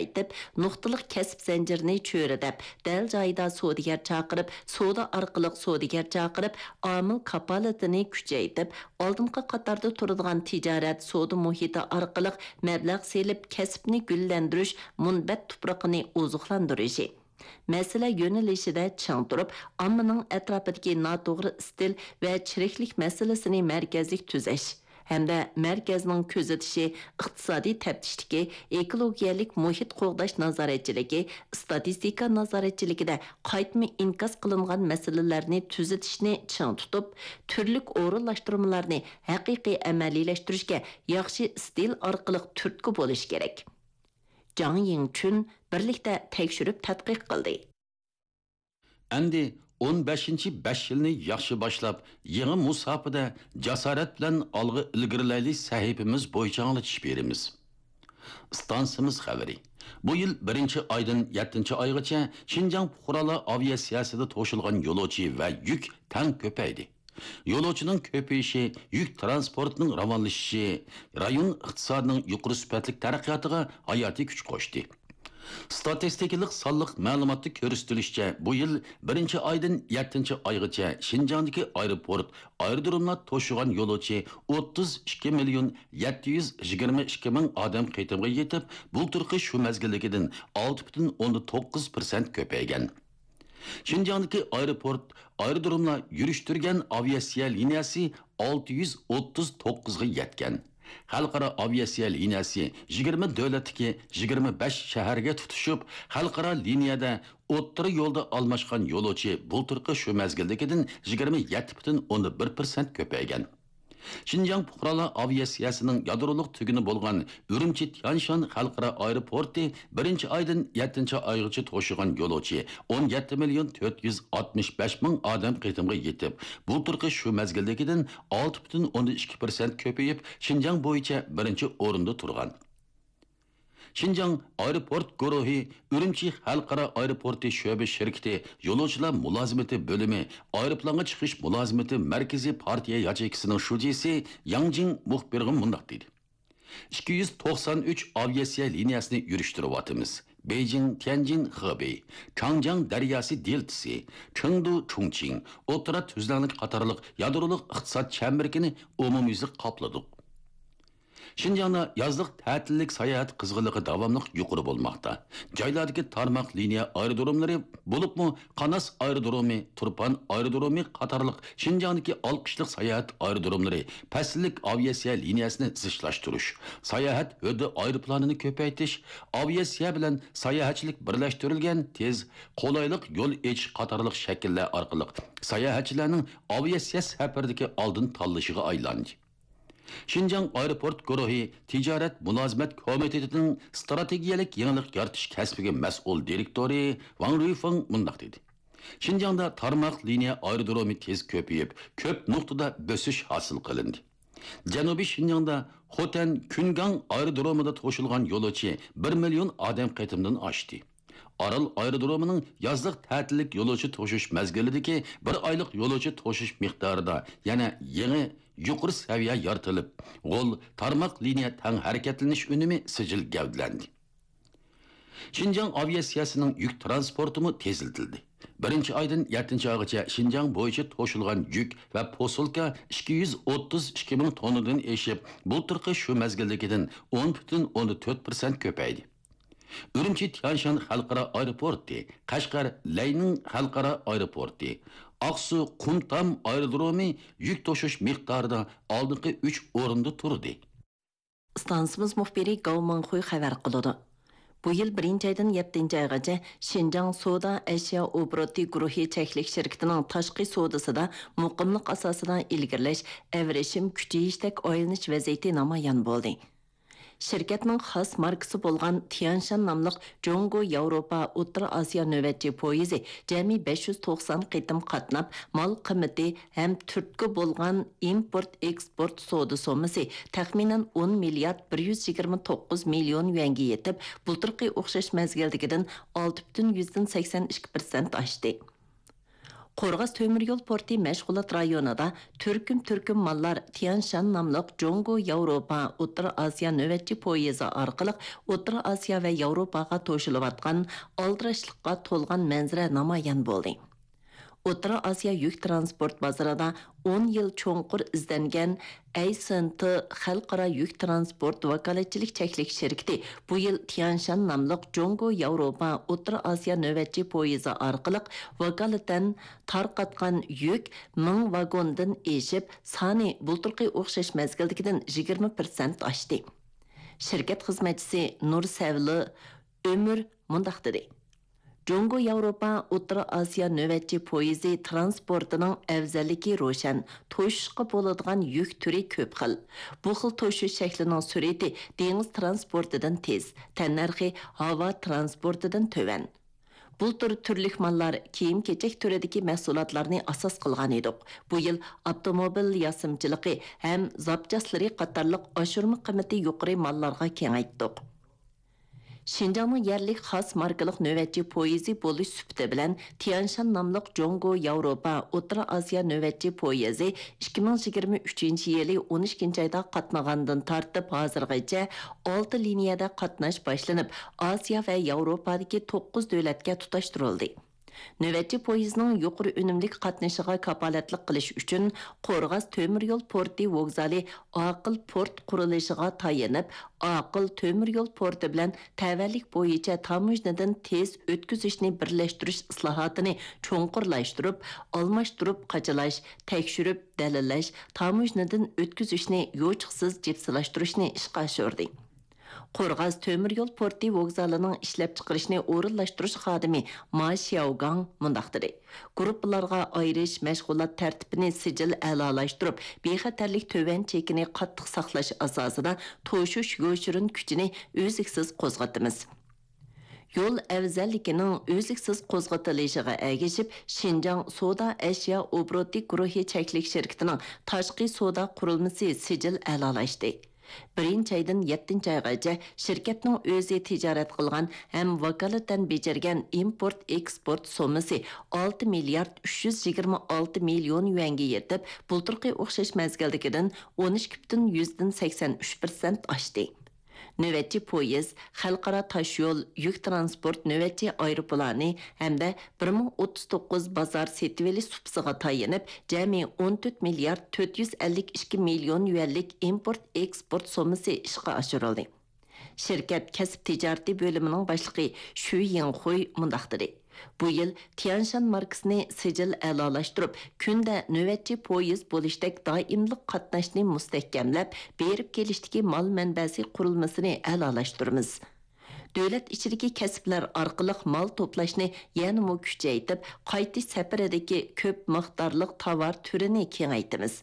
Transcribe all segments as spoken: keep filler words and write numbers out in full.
كېڭەيتىپ، نۇقتىلىق كەسىپ زەنجىرىنى چۆرىدەپ، دەل جايىدا سودىگەر چاقىرىپ، سودا ئارقىلىق سودىگەر چاقىرىپ، ئامىل كاپالىتىنى كۈچەيتىپ، ئالدىنقى قاتاردا تۇرىدىغان تىجارەت، سودا مۇھىتى ئارقىلىق مەبلەغ سېلىپ، كەسىپنى گۈللەندۈرۈش، مۇنبەت تۇپرىقىنى ئوزۇقلاندۇرۇشى. مەسىلە يۆنىلىشىدە چىڭ تۇرۇپ، ئاممىنىڭ ئەتراپىدىكى ناتوغرا ئىستىل ۋە چىرىكلىك مەسىلىسىنى مەركەزلىك تۈزەش ھەمدە مەركەزنىڭ كۆزىتىشى، ئىقتىسادىي تەپتىشتىكى، ئېكولوگىيەلىك مۇھىت قوغداش نازارەتچىلىكى، ئىستاتىستىكا نازارەتچىلىكىدە قايتما ئىنكاس قىلىنغان مەسىلىلەرنى تۈزىتىشنى چىڭ تۇتۇپ، تۈرلۈك ئورۇنلاشتۇرمىلارنى ھەقىقىي ئەمەلىيلەشتۈرۈشكە ياخشى ئىستىل ئارقىلىق تۈرتكە بولۇش كېرەك. جاڭ يىڭچۈن بىرلىكتە تەكشۈرۈپ تەتقىق قىلدى. ئەمدى ئون بەشىنچى بەش يىلنى ياخشى باشلاپ، يېڭى مۇساپىدە جاسارەت بىلەن ئالغا ئىلگىرىلەيلى سەھىپىمىز بويىچە ئاڭلىتىش بېرىمىز. ئىستانسىمىز خەۋىرى. بۇ يىل بىرىنچى ئايدىن يەتتىنچى ئايغىچە شىنجاڭ پۇقرالار ئاۋىئاتسىيەسىدە توشۇلغان يولۇچى ۋە يۈك تەڭ كۆپەيدى. يولۇچىنىڭ كۆپىيىشى يۈك تىرانسپورتىنىڭ راۋانلىشىشى، رايون ئىقتىسادىنىڭ يۇقىرى سۈپەتلىك تەرەققىياتىغا ھاياتىي كۈچ قوشتى. ستاتىستىكىلىق سانلىق مەلۇماتتا كۆرسىتىلىشىچە، بۇ يىل بىرىنچى ئايدىن يەتتىنچى ئايغىچە شىنجاڭدىكى ئايروپورت، ئايرودروملار توشۇغان يولۇچى ئوتتۇز ئىككى مىليون يەتتە يۈز يىگىرمە ئىككى مىڭ ئادەم قېتىمغا يېتىپ، بۇلتۇرقى شۇ مەزگىلدىكىدىن ئالتە پۈتۈن ئوندىن توققۇز پىرسەنت كۆپەيگەن. شىنجاڭدىكى ئايروپورت، ئايرودروملار يۈرۈشتۈرگەن ئاۋىئاتسىيە لىنىيەسى ئالتە يۈز ئوتتۇز توققۇزغا يەتكەن. خەلقئارا ئاۋىئاتسىيە لىنىيەسى يىگىرمە دۆلەتتىكى يىگىرمە بەش شەھەرگە تۇتىشىپ، خەلقئارا لىنىيەدە ئوتتۇرا يولدا ئالماشقان يولۇچى بۇلتۇرقى شۇ مەزگىلدىكىدىن يىگىرمە يەتتە پۈتۈن ئوندىن بىر پىرسەنت كۆپەيگەن. شىنجاڭ پۇقرالار ئاۋىئاتسىيەسىنىڭ يادرولۇق تۈگۈنى بولغان ئۈرۈمچى تيانشان خەلقئارا ئايروپورتى بىرىنچى ئايدىن يەتتىنچى ئايغىچە توشۇغان يولۇچى ئون يەتتە مىليون تۆت يۈز ئاتمىش بەش مىڭ ئادەم قېتىمغا يېتىپ، بۇلتۇرقى شۇ مەزگىلدىكىدىن ئالتە پۈتۈن ئوندىن ئىككى پىرسەنت كۆپىيىپ، شىنجاڭ بويىچە بىرىنچى ئورۇندا تۇرغان. شىنجاڭ ئايروپورت گۇرۇھى ئۈرۈمچى خەلقئارا ئايروپورتى شۆبە شىركىتى يولۇچىلار مۇلازىمىتى بۆلۈمى ئايروپىلانغا چىقىش مۇلازىمىتى مەركىزىي پارتىيە ياچېيكىسىنىڭ شۇجىسى ياڭ جىڭ مۇخبىرغا مۇنداق دېدى: ئىككى يۈز توقسان ئۈچ ئاۋىئاتسىيە لىنىيەسىنى يۈرۈشتۈرۈۋاتىمىز. بېيجىڭ، تيەنجىن، خېبېي، چاڭجياڭ دەرياسى دېلتىسى، چېڭدۇ، چۇڭچىڭ، ئوتتۇرا تۈزلەڭلىك قاتارلىق يادرولۇق ئىقتىساد چەمبىرىكىنى ئومۇميۈزلۈك قاپلىدۇق. شىنجاڭدا يازلىق تەتىللىك ساياھەت قىزغىنلىقى داۋاملىق يۇقىرى بولماقتا. جايلاردىكى تارماق لىنىيە ئايرودروملىرى، بولۇپمۇ قاناس ئايرودرومى، تۇرپان ئايرودرومى قاتارلىق شىنجاڭدىكى ئالقىشلىق ساياھەت ئايرودروملىرى پەسىللىك ئاۋىئاتسىيە لىنىيەسىنى زىچلاشتۇرۇش، ساياھەت ھۆددە ئايروپىلانىنى كۆپەيتىش، ئاۋىئاتسىيە بىلەن ساياھەتچىلىك بىرلەشتۈرۈلگەن تېز، قولايلىق يول ئېچىش قاتارلىق شەكىللەر ئارقىلىق ساياھەتچىلەرنىڭ ئاۋىئاتسىيە سەپىرىدىكى ئالدىن تاللىشىغا ئايلاندى. شىنجاڭ ئايروپورت گۇرۇھى تىجارەت مۇلازىمەت كومىتېتىنىڭ ئىستراتېگىيەلىك يېڭىلىق يارىتىش كەسپىگە مەسئۇل دىرېكتورى ۋاڭ رۇيفېڭ مۇنداق دېدى: شىنجاڭدا تارماق لىنىيە ئايرودرومى تېز كۆپىيىپ، كۆپ نۇقتىدا بۆسۈش ھاسىل قىلىندى. جەنۇبىي شىنجاڭدا خوتەن كۈنگاڭ ئايرودرومىدا توشۇلغان يولۇچى بىر مىليون ئادەم قېتىمدىن ئاشتى. ئارال ئايرودرومىنىڭ يازلىق تەتىللىك يولۇچى توشۇش مەزگىلىدىكى بىر ئايلىق يولۇچى توشۇش مىقدارىدا يەنە يېڭى يۇقىرى سەۋىيە يارىتىلىپ، غول تارماق لىنىيە تەڭ ھەرىكەتلىنىش ئۈنۈمى سىجىل گەۋدىلەندى. شىنجاڭ ئاۋىئاتسىيەسىنىڭ يۈك تىرانسپورتىمۇ تېزلىتىلدى. بىرىنچى ئايدىن يەتتىنچى ئايغىچە شىنجاڭ بويىچە توشۇلغان يۈك ۋە پوسۇلكا ئىككى يۈز ئوتتۇز ئىككى مىڭ توننىدىن ئېشىپ، بۇلتۇرقى شۇ مەزگىلدىكىدىن ئون پۈتۈن ئوندىن تۆت پىرسەنت كۆپەيدى. ئۈرۈمچى تيانشان خەلقئارا ئايروپورتى، قەشقەر لەينىڭ خەلقئارا ئايروپورتى، ئاقسۇ قۇمتام ئايرودرومى يۈك توشۇش مىقدارىدا ئالدىنقى ئۈچ ئورۇندا تۇردى. ئىستانسىمىز مۇخبىرى گاۋ مىڭخۇي خەۋەر قىلىدۇ. بۇ يىل بىرىنچى ئايدىن يەتتىنچى ئايغىچە شىنجاڭ سودا ئەشيا ئوبوروتى گۇرۇھى چەكلىك شىركىتىنىڭ تاشقى سودىسىدا مۇقىملىق ئاساسىدا ئىلگىرىلەش، ئەۋرىشىم كۈچىيىشتەك ئايلىنىش ۋەزىيىتى نامايان بولدى. شىركەتنىڭ خاس ماركىسى بولغان تيانشان ناملىق جۇڭگو ياۋروپا ئوتتۇرا ئاسىيا نۆۋەتچى پويىزى جەمئىي بەش يۈز توقسان قېتىم قاتناپ، مال قىممىتى ھەم تۈرتكە بولغان ئىمپورت ئېكسپورت سودا سوممىسى تەخمىنەن ئون مىليارد بىر يۈز يىگىرمە توققۇز مىليون يۈەنگە يېتىپ، بۇلتۇرقى ئوخشاش مەزگىلدىكىدىن ئالتە پۈتۈن يۈزدىن سەكسەن ئىككى پىرسەنت ئاشتى. قورغاس تۆمۈر يول پورتى مەشغۇلات رايونىدا تۈركۈم-تۈركۈم ماللار تيانشان ناملىق جۇڭگو ياۋروپا ئوتتۇرا ئاسىيا نۆۋەتچى پويىزى ئارقىلىق ئوتتۇرا ئاسىيا ۋە ياۋروپاغا توشۇلۇۋاتقان ئالدىراشلىققا تولغان مەنزىرە نامايان بولدى. ئوتتۇرا ئاسىيا يۈك تىرانسپورت بازىرىدا ئون يىل چوڭقۇر ئىزدەنگەن ئەيسېنتى خەلقئارا يۈك تىرانسپورت ۋاكالەتچىلىك چەكلىك شىركىتى بۇ يىل تيانشان ناملىق جۇڭگو ياۋروپا ئوتتۇرا ئاسىيا نۆۋەتچى پويىزى ئارقىلىق ۋاكالىتەن تارقاتقان يۈك مىڭ ۋاگوندىن ئېشىپ، سانى بۇلتۇرقى ئوخشاش مەزگىلدىكىدىن يىگىرمە پىرسەنت ئاشتى. شىركەت خىزمەتچىسى نۇرسەۋلى ئۆمۈر مۇنداق دېدى: جۇڭگو ياۋروپا ئوتتۇرا ئاسىيا نۆۋەتچى پويىزى تىرانسپورتىنىڭ ئەۋزەللىكى روشەن، توشۇشقا بولىدىغان يۈك تۈرى كۆپ خىل. بۇ خىل توشۇش شەكلىنىڭ سۈرئىتى دېڭىز تىرانسپورتىدىن تېز، تەننەرخى ھاۋا تىرانسپورتىدىن تۆۋەن. بۇلتۇر تۈرلۈك ماللار كىيىم-كېچەك تۈرىدىكى مەھسۇلاتلارنى ئاساس قىلغان ئىدۇق. بۇ يىل ئاپتوموبىل ياسىمىچىلىقى ھەم زاپچاسلىرى قاتارلىق ئاشۇرما قىممىتى يۇقىرى ماللارغا كېڭەيتتۇق. شىنجاڭنىڭ يەرلىك خاس ماركىلىق نۆۋەتچى پويىزى بولۇش سۈپىتى بىلەن تيانشان ناملىق جۇڭگو ياۋروپا ئوتتۇرا ئاسىيا نۆۋەتچى پويىزى ئىككى مىڭ يىگىرمە ئۈچىنچى يىلى ئون ئىككىنچى ئايدا قاتنىغاندىن تارتىپ ھازىرغىچە ئالتە لىنىيەدە قاتناش باشلىنىپ، ئاسىيا ۋە ياۋروپادىكى توققۇز دۆلەتكە تۇتاشتۇرۇلدى. نۆۋەتچى پويىزنىڭ يۇقىرى ئۈنۈملۈك قاتنىشىغا كاپالەتلىك قىلىش ئۈچۈن، قورغاس تۆمۈر يول پورتى ۋوگزالى ئاقىل پورت قۇرۇلۇشىغا تايىنىپ، ئاقىل تۆمۈر يول پورتى بىلەن تەۋەلىك بويىچە تاموژنىدىن تېز ئۆتكۈزۈشنى بىرلەشتۈرۈش ئىسلاھاتىنى چوڭقۇرلاشتۇرۇپ، ئالماشتۇرۇپ قاچىلاش، تەكشۈرۈپ دەلىللەش، تاموژنىدىن ئۆتكۈزۈشنى يوچۇقسىز جىپسىلاشتۇرۇشنى ئىشقا ئاشۇردى. قورغاس تۆمۈر يول پورتى ۋوگزالىنىڭ ئىشلەپچىقىرىشنى ئورۇنلاشتۇرۇش خادىمى ما شياۋگاڭ مۇنداق دېدى: گۇرۇپپىلارغا ئايرىش، مەشغۇلات تەرتىپىنى سىجىل ئەلالاشتۇرۇپ، بىخەتەرلىك تۆۋەن چېكىنى قاتتىق ساقلاش ئاساسىدا توشۇش يوشۇرۇن كۈچىنى ئۈزلۈكسىز قوزغىتىمىز. يول ئەۋزەللىكىنىڭ ئۈزلۈكسىز قوزغىتىلىشىغا ئەگىشىپ، شىنجاڭ سودا ئەشيا ئوبوروتى گۇرۇھى چەكلىك شىركىتىنىڭ تاشقى سودا قۇرۇلمىسى سىجىل ئەلالاشتى. بىرىنچى ئايدىن يەتتىنچى ئايغىچە شىركەتنىڭ ئۆزى تىجارەت قىلغان ھەم ۋاكالىتەن بېجىرگەن ئىمپورت ئېكسپورت سوممىسى ئالتە مىليارد ئۈچ يۈز يىگىرمە ئالتە مىليون يۈەنگە يېتىپ، بۇلتۇرقى ئوخشاش مەزگىلدىكىدىن ئون ئىككى پۈتۈن يۈزدىن سەكسەن ئۈچ پىرسەنت ئاشتى. نۆۋەتچى پويىز، خەلقئارا تاشيول يۈك تىرانسپورت نۆۋەتچى ئايروپىلانى ھەمدە بىر مىڭ ئوتتۇز توققۇز بازار سېتىۋېلىش سۇپىسىغا تايىنىپ، جەمئىي ئون تۆت مىليارد تۆت يۈز ئەللىك ئىككى مىليون يۈەنلىك ئىمپورت ئېكسپورت سوممىسى ئىشقا ئاشۇرۇلدى. شىركەت كەسىپ تىجارىتى بۆلۈمىنىڭ باشلىقى شۈ يىڭخۇي مۇنداق دېدى: بۇ يىل تيانشان ماركىسىنى سىجىل ئەلالاشتۇرۇپ، كۈندە نۆۋەتچى پويىز بولۇشتەك دائىملىق قاتناشنى مۇستەھكەملەپ، بېرىپ كېلىشتىكى مال مەنبەسى قۇرۇلمىسىنى ئەلالاشتۇرىمىز. دۆلەت ئىچىدىكى كەسىپلەر ئارقىلىق مال توپلاشنى يەنىمۇ كۈچەيتىپ، قايتىش سەپىرىدىكى كۆپ مىقدارلىق تاۋار تۈرىنى كېڭەيتىمىز.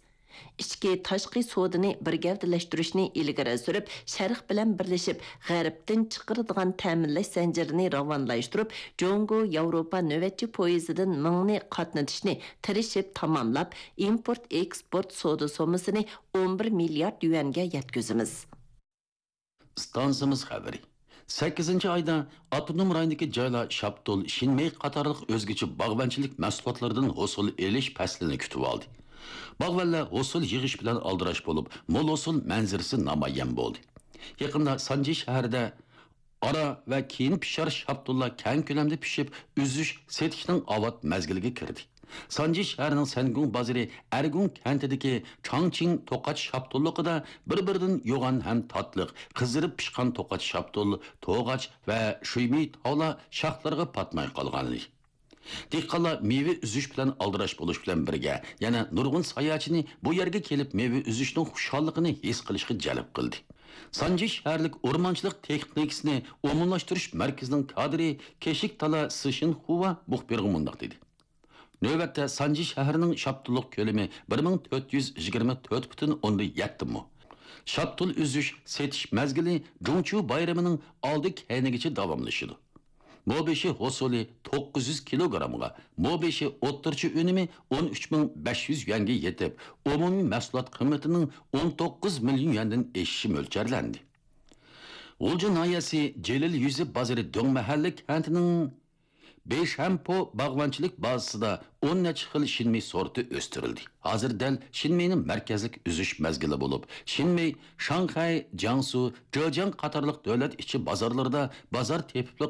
ئىچكى، تاشقى سودىنى بىر گەۋدىلەشتۈرۈشنى ئىلگىرى سۈرۈپ، شەرق بىلەن بىرلىشىپ، غەربتىن چىقىرىدىغان تەمىنلەش زەنجىرىنى راۋانلاشتۇرۇپ، جۇڭگو ياۋروپا نۆۋەتچى پويىزىدىن مىڭنى قاتنىتىشنى تىرىشىپ تاماملاپ، ئىمپورت ئېكسپورت سودا سوممىسىنى ئون بىر مىليارد يۈەنگە يەتكۈزىمىز. ئىستانسىمىز خەۋىرى. سەككىزىنچى ئايدا ئاپتونوم رايوندىكى جايلار شاپتۇل، شىنمېي قاتارلىق ئۆزگىچە باغۋەنچىلىك مەھسۇلاتلىرىدىن ھوسۇل ئېلىش پەسلىنى كۈتۈۋالدى. باغۋەنلەر ھوسۇل يىغىش بىلەن ئالدىراش بولۇپ، مول ھوسۇل مەنزىرىسى نامايان بولدى. يېقىندا سانجى شەھىرىدە ئارا ۋە كېيىن پىشار شاپتۇللار كەڭ كۆلەمدە پىشىپ، ئۈزۈش، سېتىشنىڭ ئاۋات مەزگىلىگە كىردى. سانجى شەھىرىنىڭ سەنگۇڭ بازىرى ئەرگۇڭ كەنتىدىكى چاڭچىڭ توقاچ شاپتۇللۇقىدا بىر-بىرىدىن يوغان ھەم تاتلىق، قىزىرىپ پىشقان توقاچ شاپتۇل، توغاچ ۋە شۈيمىي تاۋلار شاخلىرىغا پاتماي قالغانىدى. دېھقانلار مېۋە ئۈزۈش بىلەن ئالدىراش بولۇش بىلەن بىرگە، يەنە نۇرغۇن ساياھەتچىنى بۇ يەرگە كېلىپ مېۋە ئۈزۈشنىڭ خۇشاللىقىنى ھېس قىلىشقا جەلپ قىلدى. سانجى شەھەرلىك ئورمانچىلىق تېخنىكىسىنى ئومۇملاشتۇرۇش مەركىزىنىڭ كادىرى كېشىك تالا سىشىنخۇۋا مۇخبىرغا مۇنداق دېدى: نۆۋەتتە سانجى شەھىرىنىڭ شاپتۇللۇق كۆلىمى بىر مىڭ تۆت يۈز يىگىرمە تۆت پۈتۈن ئوندىن يەتتە مو. شاپتۇل ئۈزۈش، سېتىش مەزگىلى جۇڭچيۇ بايرىمىنىڭ ئالدى كەينىگىچە داۋاملىشىدۇ. مو بېشى ھوسۇلى توققۇز يۈز كىلوگرامغا، مو بېشى ئوتتۇرىچە ئۈنۈمى ئون ئۈچ مىڭ بەش يۈز يۈەنگە يېتىپ، ئومۇمىي مەھسۇلات قىممىتىنىڭ ئون توققۇز مىليون يۈەندىن ئېشىشى مۆلچەرلەندى. غۇلجا ناھىيەسى جېلىل يۈزى بازىرى دۆڭمەھەللە كەنتىنىڭ بېيشەنپو باغۋەنچىلىك بازىسىدا ئون نەچچە خىل شىنمېي سورتى ئۆستۈرۈلدى. ھازىر دەل شىنمېينىڭ مەركەزلىك ئۈزۈش مەزگىلى بولۇپ، شىنمېي شاڭخەي، جياڭسۇ، جېجياڭ قاتارلىق دۆلەت ئىچى بازارلىرىدا بازار تېپىپلا